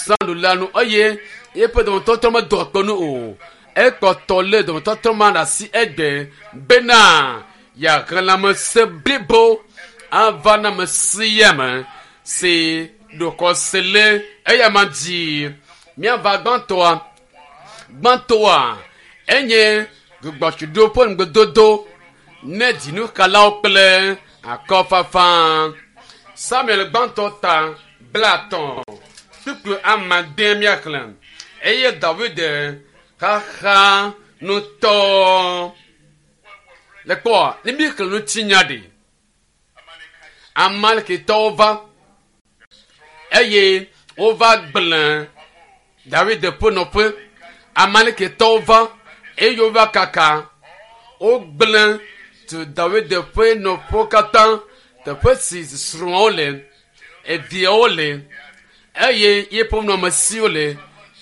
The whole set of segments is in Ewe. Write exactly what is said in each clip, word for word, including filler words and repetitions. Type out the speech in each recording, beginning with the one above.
Azãɖula nu eye eƒe dɔmetɔtrɔ medɔ akpe nu o. Ekpɔtɔ lé dɔmetɔtrɔ ma ɖe asi egbe bena yeahe lãmesẽ blibo ava na ame sia ame si ɖo xɔse le eya ma dzi. Míava gbãtɔa. Gbãtɔa enye gbugbɔtsiɖo ƒe ŋugbedodo ne dzinuxalawo kple akɔfafa. Samuel gbãtɔ ta blaetɔ̃ kpukpui amade míaxlẽ eye David xaxa ŋutɔ. Le kpɔa, ne míexlẽ ŋutinya ɖi, Amalekitɔwo va eye wova gblẽ David ƒe nɔƒe. Amalekitɔwo va eye wova kaka wogblẽ tu David ƒe nɔƒewo katã, teƒe si srɔ̃awo le, eviawo le, eye yeƒe nɔamesiwo le,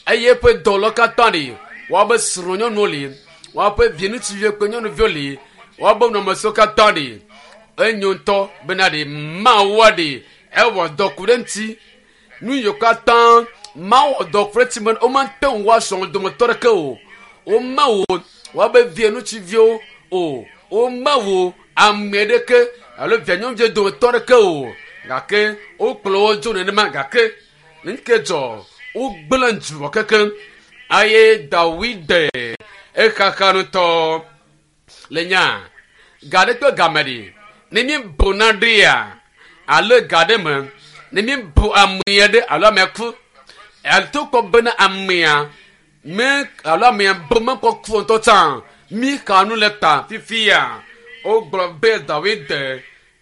eye eƒe dɔwɔlawo katã li, woabe srɔ̃nyɔnuwo li, woaƒe vi ŋutsuviwo kple nyɔnuviwo li, woabe nɔamesiwo katã li. Enyo ŋutɔ bena ɖe Mawua ɖe ewɔ dɔ ku ɖe ŋuti. Nu yiwo katã Mawu wɔ dɔ ku ɖe ŋuti be womate ŋu woasrɔ̃ dometɔ ɖeke o. Womewo woabe vi ŋutsuviwo o. Womewo ame ɖeke alo via nyɔnuviwo dometɔ ɖeke o. Gake wokplɔ wo dzo nenema gake nu ke dzɔ wogblẽ dzuɔ kekeŋ eye Dawid exaxa ŋutɔ le nya ga ɖe kple game ɖi ne míebu naɖea alo ga ɖe me ne míebu amea ɖe alo amea ku to kpɔ bena amea me alo amea bu mekpɔ ku ŋutɔ tsã míxa nu le ta fifia wogblɔ be Dawid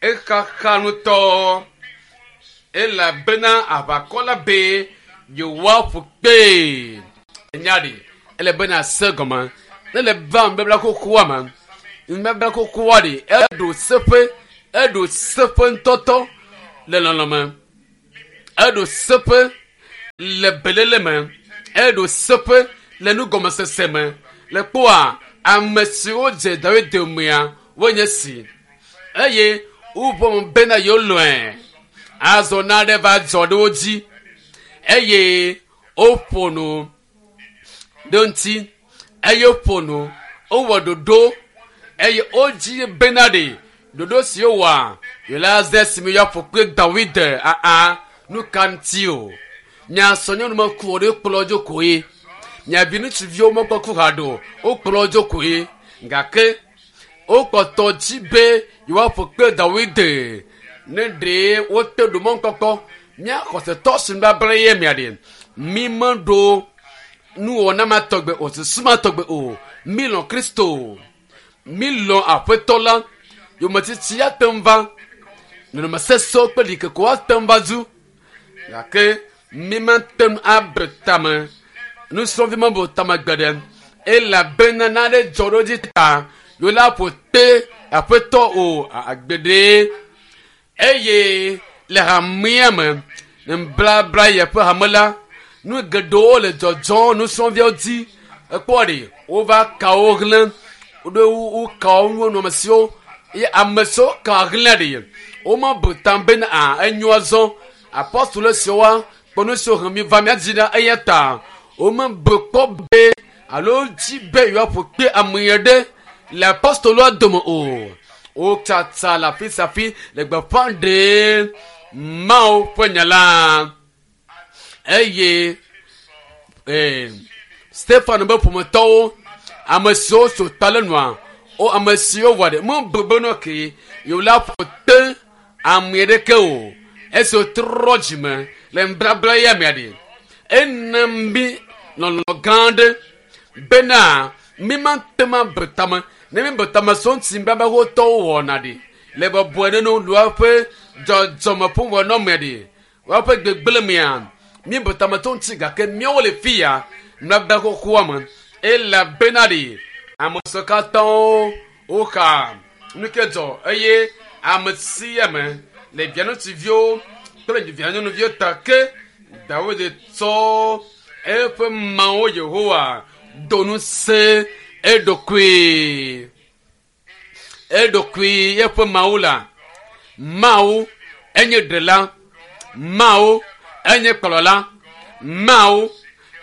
exaxa ŋutɔ elabena aʋakɔ la be yewoaƒu kpee. Enya ɖi ele bena se gɔme ne le va nubabla xoxoa me nubabla xoxoa ɖi eɖo seƒe eɖo seƒe ŋutɔtɔ le lɔlɔ me eɖo seƒe le belele me eɖo seƒe le nugɔmesese me le kpɔa ame siwo dze Dawid domea wonye si eye woʋɔ bena yewolɔe azɔ naɖe va dzɔ ɖe wo dzi eye woƒo nu ɖe ŋuti eye woƒo nu wowɔ ɖoɖo eye wodzi bena ɖe ɖoɖo si wowɔa yewola ze si mi yeaƒo kple Dawid aa nu ka ŋuti o mia srɔ̃nyɔnu meku o ɖe kplɔ dzo koe mia vi ŋutsuviwo mekpɔ ku haɖe o wokplɔ dzo koe gake wokpɔtɔ dzi be yewoaƒo kple Dawid ne ɖe wote ɖo mɔkpɔkpɔ mía xɔsetɔ si nubabla ye mia ɖe mi meɖo nuwɔna ma tɔgbe o susu ma tɔgbe o mi lɔ̃ Kristo mi lɔ̃ aƒetɔ la yometiti ate ŋu va nɔnɔme sesẽwo kple ɖikekewo ate ŋu va zu gake mi mate ŋu abe tame nusrɔ̃vi mebu tame gbeɖe elabena nane dzɔ ɖe dzi ta yewo la ƒo te aƒetɔ o agbeɖe eye le hamea me nblabla yeƒe hame la nu geɖewo le dzɔdzɔm nusrɔ̃viawo dzi ekpɔ ɖe wova ka wo hlẽ woɖo woka wo nɔamesiwo eye ame siwo ka hlẽ ɖe womebu tam bena a enyo azɔ apɔstolo siwo kpɔ nu siwo hem mi va mía dzi ɖa eya ta womebu kpɔ be alo dzi be yewoaƒo kpe ame ɖe le apɔstoloa dome o wotsatsa le afi sia afi le gbeƒã ɖem Mawu ƒe nya la eye ee, Stefano be ƒometɔwo ame siwo so ta le nua wo ame siwo wɔ ɖe mebu be no ke yewo la ƒo te ame ɖeke o esi wotrɔ dzime le nubabla ya mea ɖe ena mi lɔlɔ gã aɖe bena mi mate ŋu abe tame ne mi be tame so ŋuti nubabla wotɔwo wɔna ɖi le bɔbɔe ɖe no lu woƒe dzɔdzɔme ƒe wɔnɔmea ɖi woaƒe gbegblẽ mea mi be tame to ŋuti gake míawo le fi ya nubabla xoxoa me elabena ɖi ame siwo katã woxa nu ke dzɔ eye ame sia ame le via ŋutsuviwo kple via nyɔnuviwo ta ke Dawid tsɔ eƒe Mawu Yehowa do ŋusẽ eɖokui eɖokui eƒe Mawu la Mawu enye ɖela Mawu enye kplɔla Mawu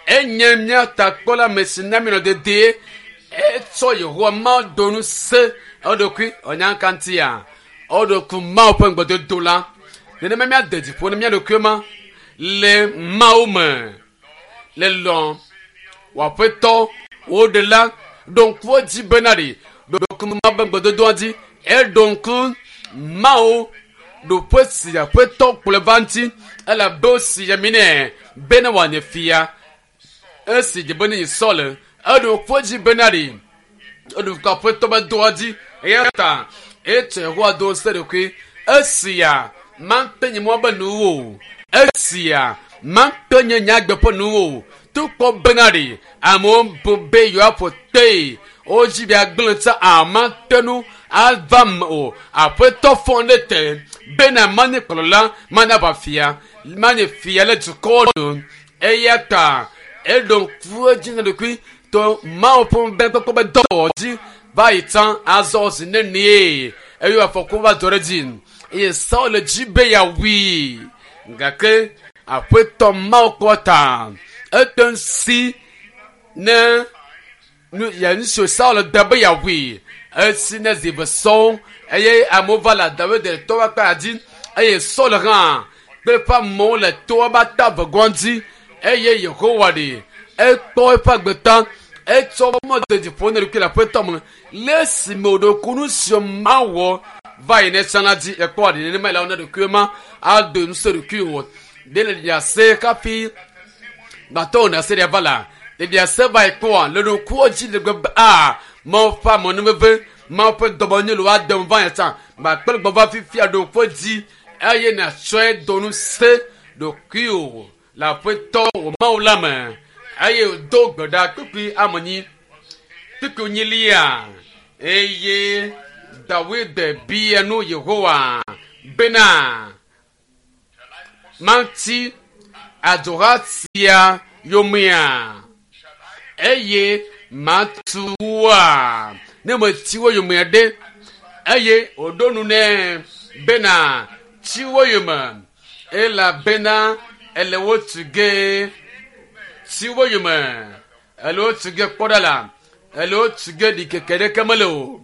enye mía takpɔla ame si na mi nɔ dedie etsɔ Yehowa Mawu do nu se eɖokui ɔnyankantia eɖoku Mawu ƒe ŋugbedodo la nenema míade dziƒo ne mía ɖokui ma le Mawu me le lɔ wòaƒetɔ wo ɖela ɖo ŋku edzi bena ɖi ɖo ŋku Mawu ƒe ŋugbedodoa dzi eɖo ŋku Mawu ɖoƒe si aƒetɔ kplɔe va ŋuti elabe wosi ami nɛ bene wòanye fia esi dze be ne yi Saul eɖo ŋku edzi bena ɖi eɖo ŋku aƒetɔ be doa dzi eya ta etsɔ Yehowa do ŋusẽ ɖokui esia mate nye mɔ be nuwo o esia mate nye nyagbe ƒe nuwo o tukpɔ bena ɖi amewo bu be yewoaƒo tee wodzi be agblẽ tsa amate nu ava me o aƒetɔ fɔ ɖe te bena manye kplɔla manye aʋafia manye fia le dukɔwo nu eya ta eɖo ŋku edzi na ɖokui to Mawu ƒe ŋusẽ be dɔwɔwɔ dzi va yi tsã azɔ zi nenie eye afɔku va dzɔ ɖe dzi eye Saul le dzi be yeawui gake aƒetɔ Mawu kpɔ ta ete ŋu si ne nu ya nu si Saul de be yeawui esi ne zi eve sɔŋ eye amewo va le Dawid le toa ƒe akpa dzi eye Saul hã kple eƒe amewo le toa ƒe ata evegɔa dzi eye Yehowa ɖi ekpɔ eƒe agbe ta etsɔ mɔ de dziƒo ne ɖokui le aƒetɔ me le esime wòɖo ku nu siwo mawɔ va yi ne tsã la dzi ekpɔ aɖi nenema le ne ɖokui ma ado ŋusẽ ɖokui wò ɖe le ɖiase kafi gbãtɔ wò nase ɖia va la ɖiase va yi kpɔa le ɖokuiwo dzi le gbe be a Mawu ƒe amenuveve Mawu ƒe dɔmenyo le woadem va yi tsã gbakple gbɔ va fifia ɖokuiwo dzi eye nàtsɔe do ŋusẽ ɖokuiwò le aƒetɔ wò Mawu la me eye wòdo gbe ɖa kpukpui amenyi kpukpui nyilia eye Dawid bia nu Yehowa bena mati adzoha sia yomea eye matu woa ne meti wo yomea ɖe eye wòɖo nu nɛ bena tsi wo yome elabena ele wo tu ge tsi wo yome ele wo tu ge kpɔ ɖa la ele wo tu ge ɖikeke ɖeke mele o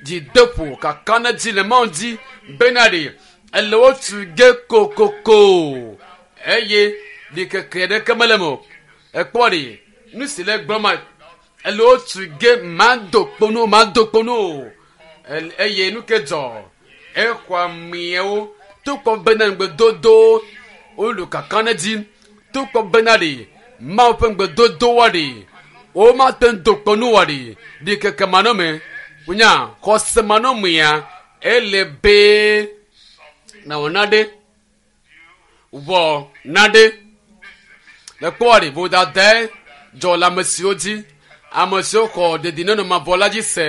dzideƒo kaka ne dzi le Mawu dzi bena ɖi ele wo tu ge kokoko eye ɖikeke ɖeke mele me o ekpɔ ɖi nu si le gblɔm ma ele wo tu ge mado kponu mado kponu o eye nu ke dzɔ exɔ ameawo tukpɔ bena ŋugbedodo wolu kaka ne dzi tukpɔ bena ɖi Mawu ƒe ŋugbedodo wa ɖi womate ŋu do kponu wa ɖi ɖikeke manɔme wonya xɔse manɔmea ele be nawɔ naɖe wɔ naɖe le kpɔ ɖi vodadae dzɔ le ame siwo dzi ame siwo xɔ dedinɔnɔ mavɔ la dzi se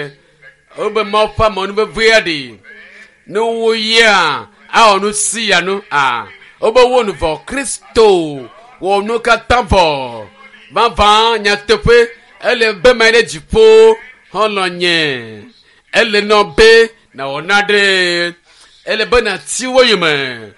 wobe Mawu ƒe amenuvevea ɖi ne woyia awɔ nu si ya nu a wobe wo nu vɔ Kristo wɔ nu katã vɔ vavã nyateƒe ele be ma ɖe dziƒo xɔlɔ nye ele nɔ be nawɔ naɖe ele be nati wo yome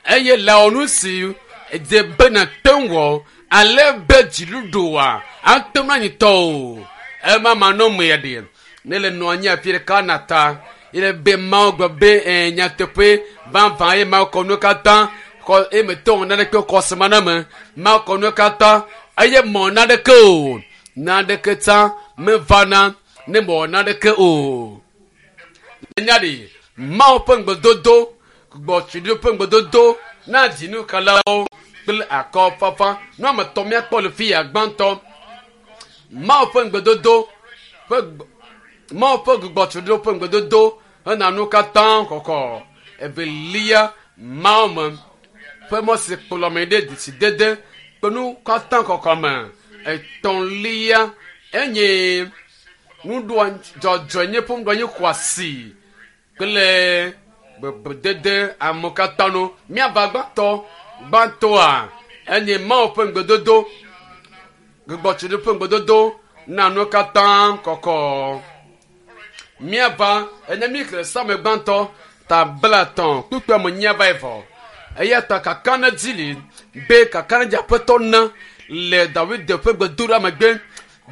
eye le wɔ nu si dze be nate ŋu wɔ ale be dziɖuɖua ate ŋu anyi tɔ o ema manɔmea ɖi ne le nɔ anyi afi ɖeka na ta ele be Mawu gblɔ be ɛ nyateƒe vavã ye Mawu kɔ nu katã kɔ eye metɔ wɔ naneke xɔse manɔme Mawu kɔ nu katã eye mɔ naneke o naneke tsã mevana ne mɔ naneke o nya ɖi Mawu ƒe ŋugbedodo gbɔtsiɖo ƒe ŋugbedodo na dzinukalawo kple akɔfafa nu ame etɔ̃ míakpɔ le fi ya gbãtɔ Mawu ƒe ŋugbedodo ƒe Mawu ƒe gbugbɔtsiɖo ƒe ŋugbedodo hena nu katã kɔkɔ evelia Mawu me ƒe mɔ si kplɔ me ɖe dzidede kple nu katã kɔkɔ me etɔ̃lia enye nuɖoa dzɔdzɔenye ƒe nuɖoanyi xɔasi kple bebedede ame katã nu míava gbãtɔ gbãtɔa enye Mawu ƒe ŋugbedodo gbugbɔtsiɖo ƒe ŋugbedodo na nu katã kɔkɔ míava enye mí xlẽ same gbãtɔ ta blatɔ̃ kpukpui ame nyi ava evɔ eya ta kaka ne dzi li Be kakaɖedzi aƒetɔ na le David ƒe gbedoɖa megbe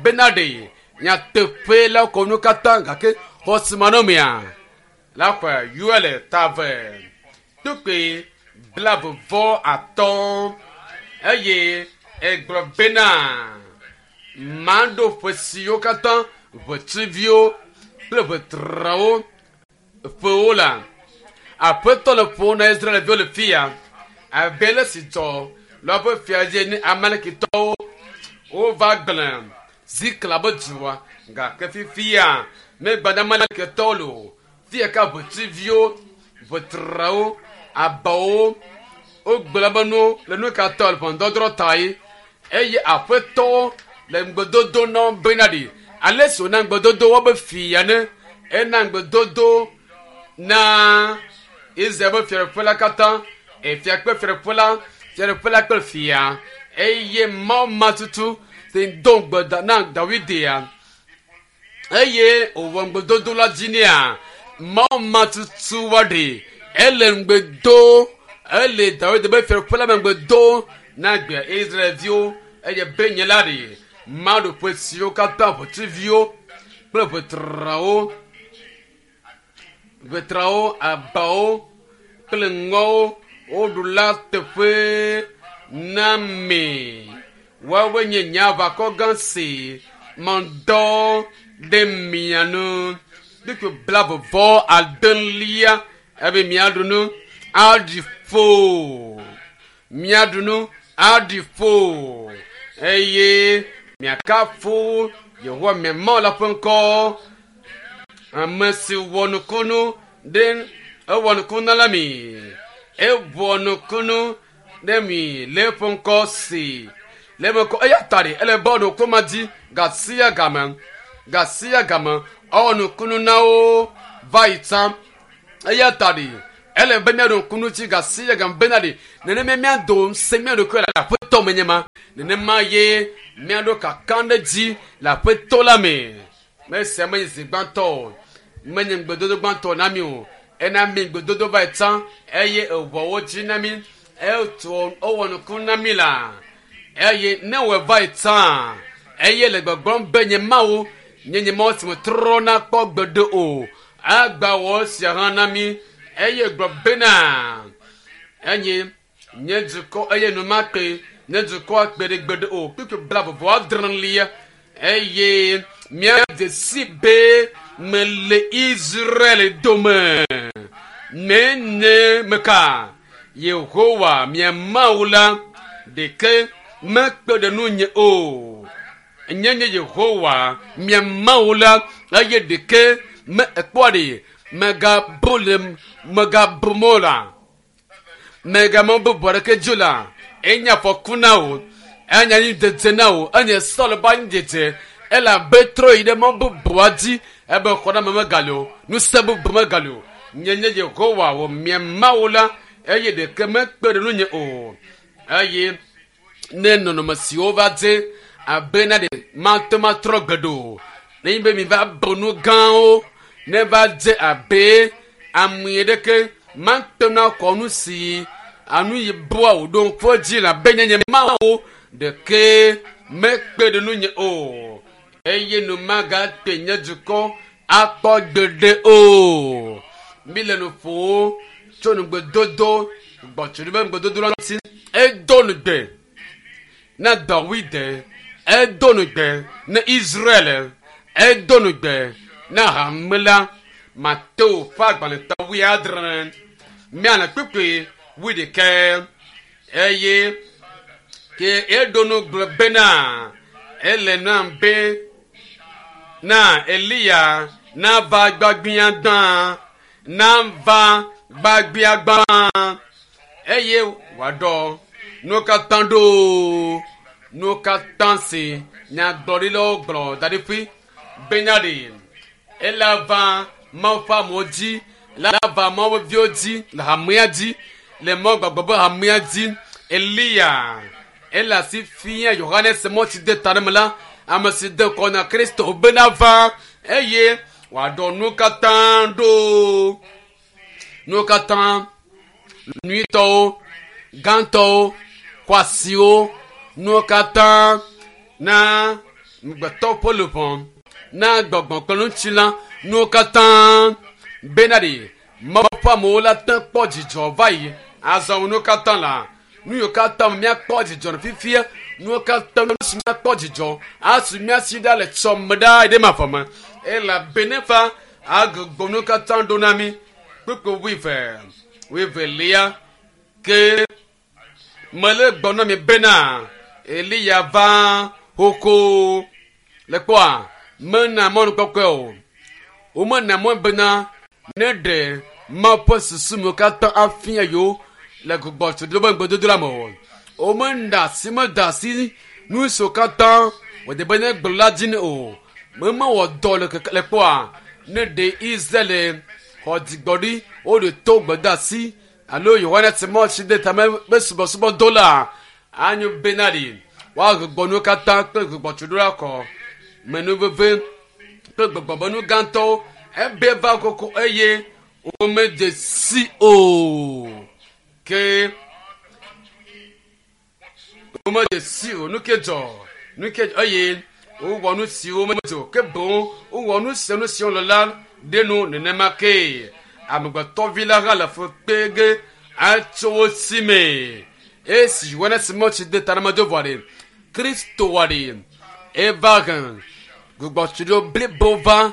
bena ɖe nyateƒe la kɔ nu katã gake xɔsemanɔmea la ƒe Yoel ta eve kpukpui blaeve vɔ atɔ̃ eye egblɔ bena maɖo ƒe siwo katã ʋetsuviwo kple ʋetrawo ƒewo la aƒetɔ le ƒo na Israelviwo le fia abe le si dzɔ le woƒe fia dzi ne Amalekitɔwo wova gblẽ Ziklag be dua gake fifia megbã Amalekitɔwo le o fia ka ʋetsuviwo ʋetrawo abawo wogblẽ be nu le nu ka tɔ le ʋɔnudɔdrɔ̃ ta ye eye aƒetɔ le ŋugbedodo na wo bena ɖi ale si wòna ŋugbedodo wobe fia ne ena ŋugbedodo na Israel be fiaɖuƒe la katã efia kple fiaɖuƒe la fiaɖuƒe la kple fia eye Mawu ma tutu si do ŋugbe da- na Dawidia eye wòwɔ ŋugbedodo la dzi nea Mawu ma tutu wa ɖe ele ŋugbe do ele Dawid be fiaɖuƒe la me ŋugbe do na gbe Israelviwo eye be nye la ɖe Maɖoƒe siwo katã ʋetsuviwo kple ʋetrawo ʋetrawo abawo kple ŋɔwo woɖu la teƒe na mi woawoe nye nye aʋakɔ gã si medɔ ɖe mia nu kpukpui blaeve vɔ adelia ebe miaɖu nu aɖi ƒo miaɖu nu aɖi ƒo eye miakafu Yehowa mia Mawu la ƒe ŋkɔ ame si wɔ nukunu ɖe ewɔ nukunu la mi ewɔ nukunu ɖe mi le eƒe ŋkɔ si le eƒe ŋkɔ eya ta ɖe ele be ɔɖo koma dzi gasia game gasia game ewɔ nukunu na wo va yi tsã eya ta ɖe ele be míaɖo ŋku dzi gasia game bena ɖe nenema míado ŋusẽ mía ɖokui le aƒetɔ me nye ma nenema ye míaɖo kakaɖedzi le aƒetɔ la me mesia menye zi gbãtɔ o menye ŋugbedodo gbãtɔ na mi o ena mi ŋugbedodo va yi tsã eye ewɔ wo dzi na mi etu ewɔ nuku na mi la eye ne wɔ va yi tsã eye le gbɔgblɔm be nye Mawu nye nye Mawu si me trɔna kpɔ gbeɖe o agba wɔ sia hã na mi eye gblɔ bena enye nye dukɔ eye nu ma kpe nye dukɔ akpe ɖe gbeɖe o kpukpui blaeve vɔ adrelia eye míadze si be mele Israel dome menye meka Yehowa mia Mawu la ɖeke mekpe ɖe nunye o nye nye Yehowa mia Mawu la eye ɖeke me ekpɔa ɖe megabu le megabu mɔ la megamɔ bubu aɖeke dzo la enye afɔku na wo enye anyidzedze na wo enye Saul be anyidzedze elabe trɔ yi ɖe mɔ bubua dzi ebe xɔname megali o ŋusẽ bubu megali o nye nye Yehowa wò mia Mawu la eye ɖeke mekpe ɖe nunye o eye ne nɔnɔme siwo va dze abe na ɖe mate matrɔ gbeɖe o nenye be mi va bu nu gãwo ne va dze abe ame ɖeke mate ŋu akɔ nu si anu yi bua wòɖo ŋku dzi le abe nye nye Mawu ɖeke mekpe ɖe nunye o eye nu magate nye dukɔ akpɔ gbeɖe o mi le nu ƒom tso nugbedodo gbɔtso ɖe be ŋugbedodo la ŋuti edo nugbe na Dawid edo nugbe na Israel edo nugbe na hame la Mateo ƒe agbalẽtɔ wuiadre miana kpukpui wuiɖekɛ eye ke eɖo nu gblɔ bena ele nam be na Eliya nava gbagbia gbã nava gbagbia gbã eye wòaɖɔ nuwo katã ɖo nuwo katã si nyagblɔɖilawo gblɔ da ɖi ƒui bena ɖe ela va Mawu ƒe amewo dzi la va Mawu ƒe viwo dzi le hamea dzi le Mawu gbagbe be hamea dzi Eliya ele asi fia Yohanes mɔ si de ta ɖe me la ame si de kɔ na Kristo bena va eye wòaɖɔ nuwo katã ɖo nuwo katã nyuitɔwo gãtɔwo Xɔasiwo, nuwo katã na ŋugbetɔ ƒe luʋɔ, na gbɔgbɔ kple ŋutilã, nuwo katã bena ɖi Mawu ƒe amewo la te kpɔ dzidzɔ va yi. Azɔ nuwo katã la, nu yiwo katã míakpɔ dzidzɔ le fifia, nuwo katã nu si míakpɔ dzidzɔ asu mía si ɖa le tsɔme ɖaa yi ɖe mavɔ me. Elabena fa agbugbɔ nuwo katã ɖo na mí. Kpukpu wuieve, wuievelia ke mele gblɔm na mi bena Eliya va xoxo. Le kpɔa, mena mɔnukpɔkpɔe o. Womena mɔ bena ne ɖe Mawu ƒe susu me katã afia yewo le gbugbɔtuɖo be ŋugbedodo la me o. Womena asi meda asi nu siwo katã wòde be ne gblɔ la dzi nɛ o. Mewɔ dɔ le keke le kpɔa ne ɖe Israel xɔ dzigbɔɖi woɖe to gbedeasi alo Yohanes Mawutsi de tame be subɔsubɔ do la anyo bena ɖi woagbugbɔ nuwo katã kple gbugbɔtuɖo la kɔ menuveve kple gbɔgbɔmenu gãtɔwo ebe va koko eye womedze si o. Ke womedze si o. Nu ke dzɔ, nu ke dzɔ eye wowɔ nu siwo medze o. Ke boŋ wowɔ nu sia nu si wole la ɖe nu nenema ke. Amegbetɔvi la hã le fu kpe ge atso wo si me. Esi Yohanes Mawutsi de ta na medo vɔ ɖe, Kristo wɔ ɖe eva he gbugbɔtuɖo blibo va,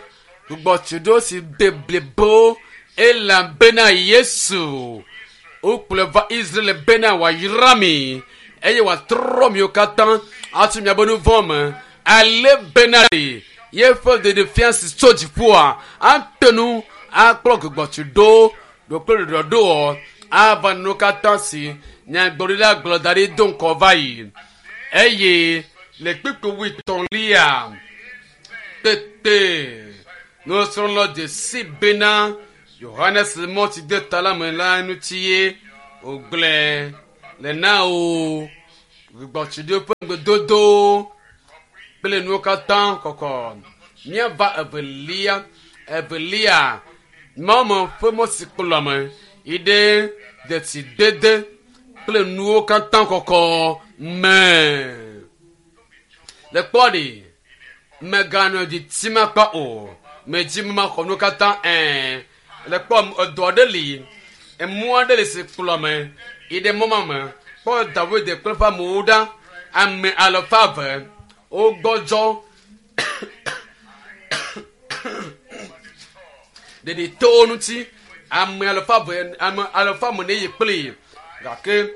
gbugbɔtuɖo si de blibo elabena Yesu wokplɔe va Israel bena wòayra mi eye wòatrɔ miwo katã atso miaƒe nu vɔ̃ me ale bena ɖe yeƒe ɖeɖefia si tso dziƒoa ate ŋu akplɔ gbugbɔtuɖo ɖokple ɖɔɖɔɖoɔ ava nu katã si nyagblɔɖila gblɔ da ɖi do ŋkɔ va yi. Eye le kpukpu wuietɔ̃lia tete nusrɔ̃la dze si bena Yohanes Mawutsi de ta la me la ŋuti ye wògblɔe le na wo gbugbɔtuɖo ƒe ŋugbedodo kple nuwo katã kɔkɔ. Míava evelia, evelia Mawu ƒe mɔ si kplɔ ame yi ɖe dzesidede kple nuwo katã kɔkɔ me. Le kpɔ ɖi, meganɔ dzi tim akpa o. Medzi be maxɔ nuwo katã ɛ̃. Le kpɔ edɔ aɖe li, emɔ aɖe li si kplɔ ame yi ɖe mɔ ma me. Kpɔ Dawid kple eƒe amewo ɖa. Ame alafa eve wogbɔdzɔ ɖeɖi to wo ŋuti. Ame alafa eve, ame alafa ame ne yi kpli gake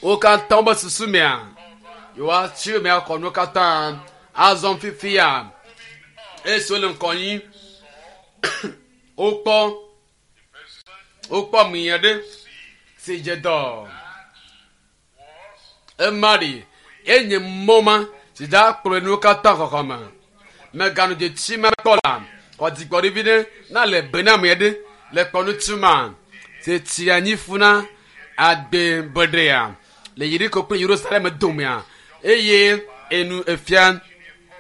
wo katã wobe susu mea yewoatsi mea xɔ nuwo katã azɔ fifia esi wole ŋkɔ nyi wokpɔ wokpɔ ame aɖe si dze dɔ ema ɖi enye mɔ ma si dza kplɔe nuwo katã xɔxɔ me meganɔ dzetsi ma kpɔ la xɔ dzigbɔɖi vi ɖe na le be na ame aɖe le kpɔ ŋuti ma si tsi anyi fu na agbe beɖea le Yeriko kple Yerusalem domea eye enu efia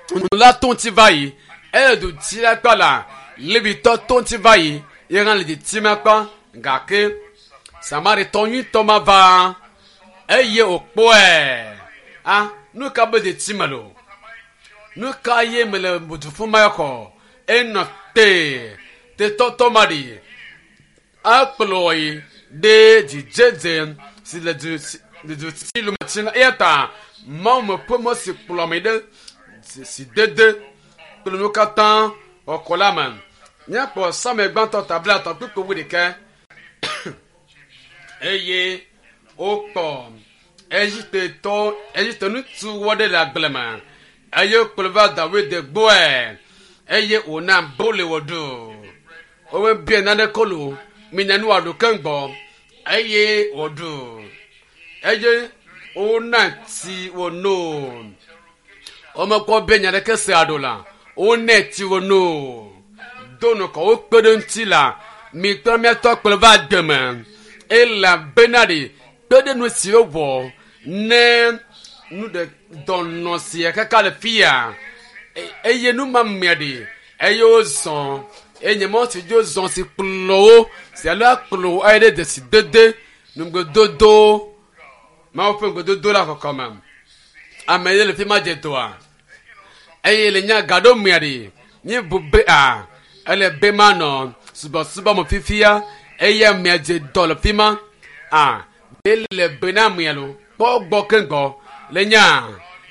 nunɔla to ŋuti va yi eye du tsi la kpɔ la Levitɔ to ŋuti va yi ye hã le dzi ma kpɔ gake Samaritɔ nyuitɔ ma va eye wòkpɔe a nu ka be dzi me lo nu ka ye mele du ƒum ma xɔ enɔ te tetɔtɔ ma ɖi akplɔ yi ɖe dzidzedze si le du si le du si lu me la eya ta Mawu me ƒe mɔ si kplɔ ame ɖe si dede kple nuwo katã xɔxɔ la me. Míakpɔ Samuel gbãtɔ ta blaetɔ̃ kpukpui wuiɖekɛ eye wokpɔ Egiptetɔ Egipte ŋutsu wɔ ɖe le agble me eye wokplɔe va Dawid gbɔe eye wòna boli wòɖu. Womebia naneke lo mina nu wòaɖu keŋ gbɔ eye wòɖu eye wona tsi wòno. Womekpɔ be nya ɖeke se aɖo la wonɛ tsi wòno. Do nukɔ wokpe ɖe ŋuti la mi kple miatɔ kplɔe va agbe me elabena ɖi kpe ɖe nu si wowɔ ne nu ɖe dɔnɔ sia kaka le fia eye nu ma mea ɖi eye wozɔ enye mɔ si dzi wozɔ si kplɔ wo si alo akplɔ wo ayi ɖe dzesidede nugbedodo Mawu ƒe ŋgbedodo la kɔkɔme. Ame ye le fi ma dze dɔa. Eye le nya gaɖo mea ɖi, míebu be a, ele be manɔ subɔsubɔ me fifia eye amea dze dɔ le fi ma. A, be le be na amea lo, kpɔ gbɔ keŋgbɔ le nya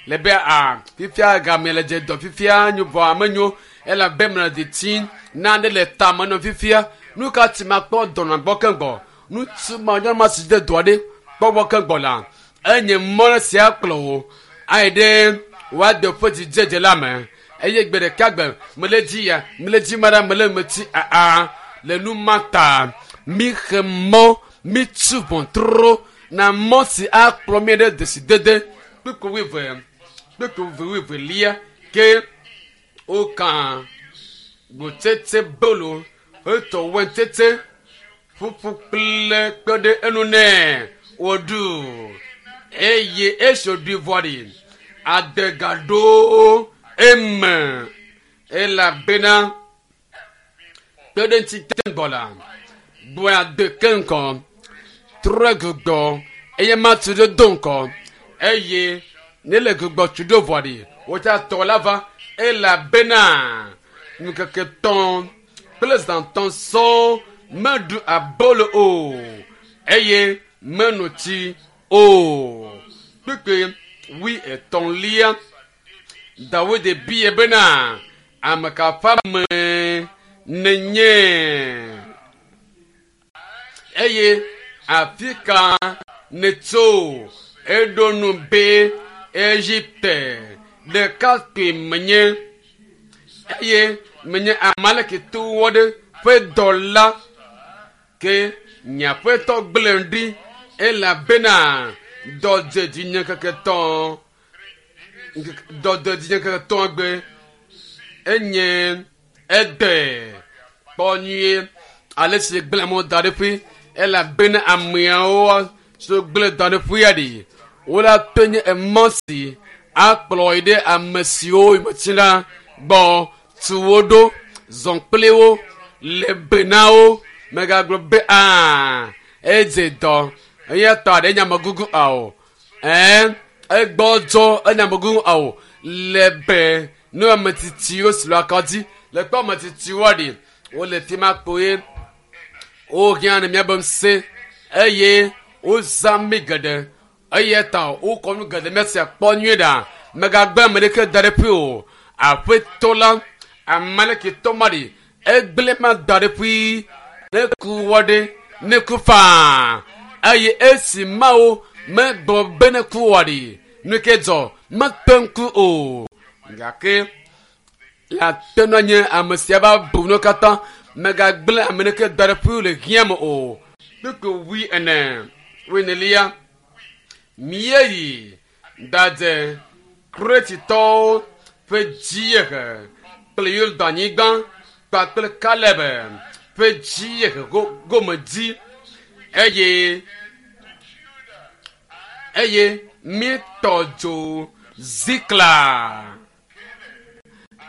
le be a fifia gamea le dze dɔ fifia nyo vɔ ame nyo elabe me le deti nane le tame nɔ fifia. Nu ka ti ma kpɔ dɔnɔ gbɔ keŋgbɔ ŋutsu ma nyɔnu ma si de dɔ ɖe kpɔ gbɔ keŋgbɔ la enye mɔ sia kplɔ wo ayi ɖe woade ƒe dzidzedze la me eye gbe ɖeka gbe mele dzi ya mele dzi ma ɖa mele metsi aa le nu ma ta mi xe mɔ mi tu ʋɔtru na mɔ si akplɔ mi ɖe desidede kpekpe wuieve kpekpe wuivelia ke woka gbotsetse bolo etɔ wɛntete ƒuƒu kple kpe ɖe enu nɛ wòɖu eye esi wòɖui vɔ ɖi adegaɖo eme elabena kpe ɖe ŋuti te ŋgɔ la gbɔe ade ke ŋgɔ trɔe gbugbɔ eye matu ɖe do ŋgɔ eye ne le gbugbɔ tu ɖo vɔ ɖi wotsa tɔ la va elabena ŋkeke tɔn kple zãtɔn sɔŋ meɖu abolo o eye meno tsi o. Kpekpe wui etɔ̃lia Dawid bia bena ame ka ƒe ame nenye eye afi ka nètso? Eɖo nu be Egipte ɖekakpui menye eye menye Amalekitɔwo aɖe ƒe dɔla ke nye aƒetɔ gblẽm ɖi elabena dɔ dze dzinye ŋkeke tɔ̃ dɔ dze dzinye ŋkeke tɔ̃ gbe enye ede kpɔ nyuie ale si gblẽ amewo da ɖe ƒui elabena ameawo so gblẽ da ɖe ƒuia ɖi wola to nye emɔ si akplɔ yi ɖe ame siwo metsi la gbɔ tu wo ɖo zɔn kpli wo le be na wo megagblɔ be aa edze dɔ eya tɔ aɖe nyamegugu ao ɛn egbɔdzɔ enyamegugu ao le be ne ame tsitsiwo si le akɔ dzi le kpɔ ame tsitsiwo ɖi wole fi ma kpoe wohiã ne míabe ŋusẽ eye wozã mí geɖe eya ta wokɔ nu geɖe míasia kpɔ nyuie ɖa megagbe ame ɖeke da ɖe ƒui o aƒetɔ la amalekitɔ ma ɖi egblẽ ma da ɖe ƒui ne ku wɔ ɖe ne ku faa eye esi mawo megblɔ be ne ku wɔ ɖi nu ke dzɔ mekpe ŋku o gake la te nɔ nye ame sia va bu nu katã megagblẽ ame ɖeke da ɖe ƒui le hiã me o kpekpe wui ene wui enelia míeyi ɖadze Kretitɔwo ƒe dziehe kple Yordanyigba kpakple Kaleb ƒe dziehe gome dzi eye eye míetɔ dzo Zikla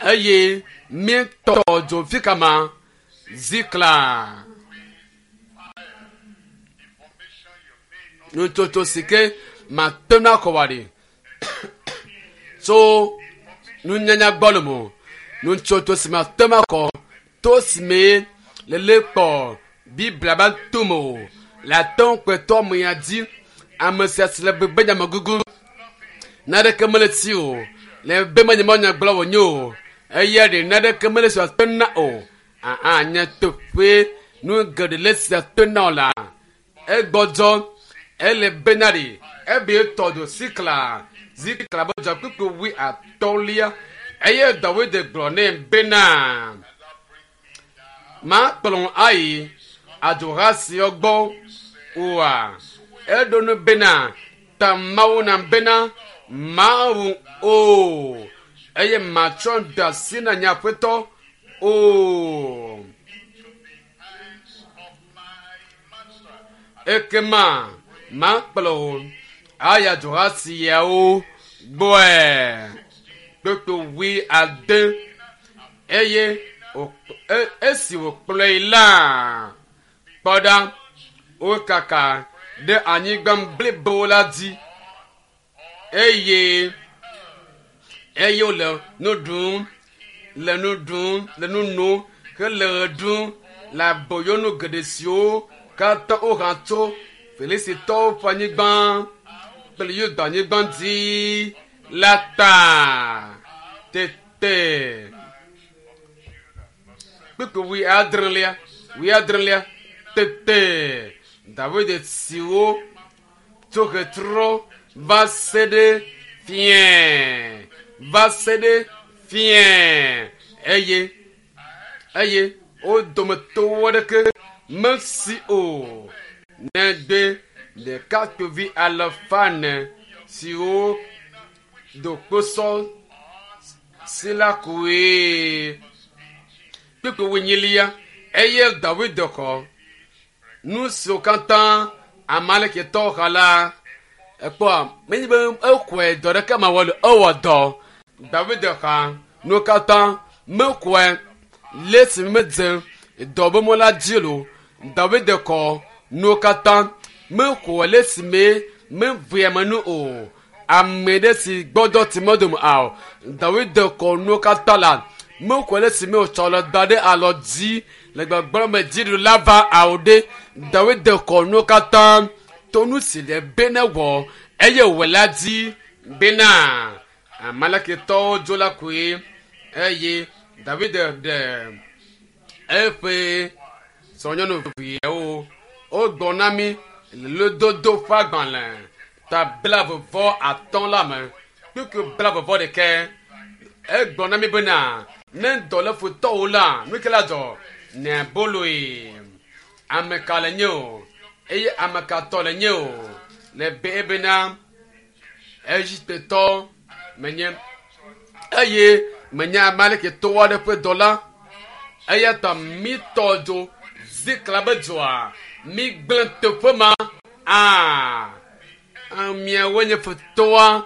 eye míetɔ dzo fi kama Zikla. Nutsotso si ke mate ŋu akɔ wa ɖi tso nunyanya gbɔ le mo nutsotso si mate ŋu akɔ to si me lele kpɔ Biblia ba tome o le ate ŋu kpetɔ me ya dzi ame sia si le bebe nyamegugu naneke mele si o le be menye mɔ gblɔ wònye o eya ɖe naneke mele si wòate na o aa nye teƒe nu geɖe le si ate na o la egbɔdzɔ ele bena ɖi ebe tɔ do sikla zikla be dzɔ kpekpe wui atɔ̃lia eye Dawid gblɔ nɛ bena makplɔ ayi adzoha siawo gbɔ oa eɖo nu bena ta Mawu na bena mawu o eye matsɔ de asi na nye aƒetɔ o. Ekema makplɔ wo ayi adzoha siawo gbɔe kpekpe wui ade eye esi wòkplɔe la kpɔ ɖa wokaka Ɖe anyigba blibo la dzi eye eye wole nu ɖum le nu ɖum le nu nom hele ɣe ɖum le aboyonu geɖe siwo katã woha tso Filistitɔwo ƒe anyigba kple Yuda anyigba dzi la ta. Tete kpukpui wui adrelia wui adrelia tete David siwo tso ɣetrɔ va se ɖe fiẽ va se ɖe fiẽ eye eye wo dometɔ aɖeke mesi o negbe ɖekakpuivi alafa ene siwo do kposɔ si la koe. Kpukpui wuinyilia eye David xɔ nu siwo katã Amalekitɔwo xa la ekpɔa menye be exɔe dɔ ɖeke ma wɔ ewɔ dɔ David xa nuwo katã mexɔe le esi medze dɔ be mɔ la dzi lo David xɔ nuwo katã mexɔe le esime mevea me nu o ame ɖe si gbɔdɔ ti medome ao David xɔ nuwo katã la mexɔe le esime wòtsɔ le da ɖe alɔ dzi le gbɔgblɔ me dziɖula va awo ɖe David xɔ nuwo katã to nu si le be ne wɔ eye wòle la dzi bena Amalekitɔwo dzo la koe eye David ɖe eƒe srɔ̃nyɔnuviawo wogblɔ na mí le lododo ƒe agbalẽ ta blaeve vɔ atɔ̃ la me kpukpui blaeve vɔ ɖekɛ egblɔ na mí bena ne dɔ le futɔwo la nu ke la dzɔ ne boloe ame ka le nye o eye ame ka tɔ le nye o le be bena Egiptetɔ menye eye menye Amalekitɔ aɖe ƒe dɔla eya ta mi tɔ dzo Ziklag be dzoa mi gblẽ teƒe ma aa miawoe nye futɔa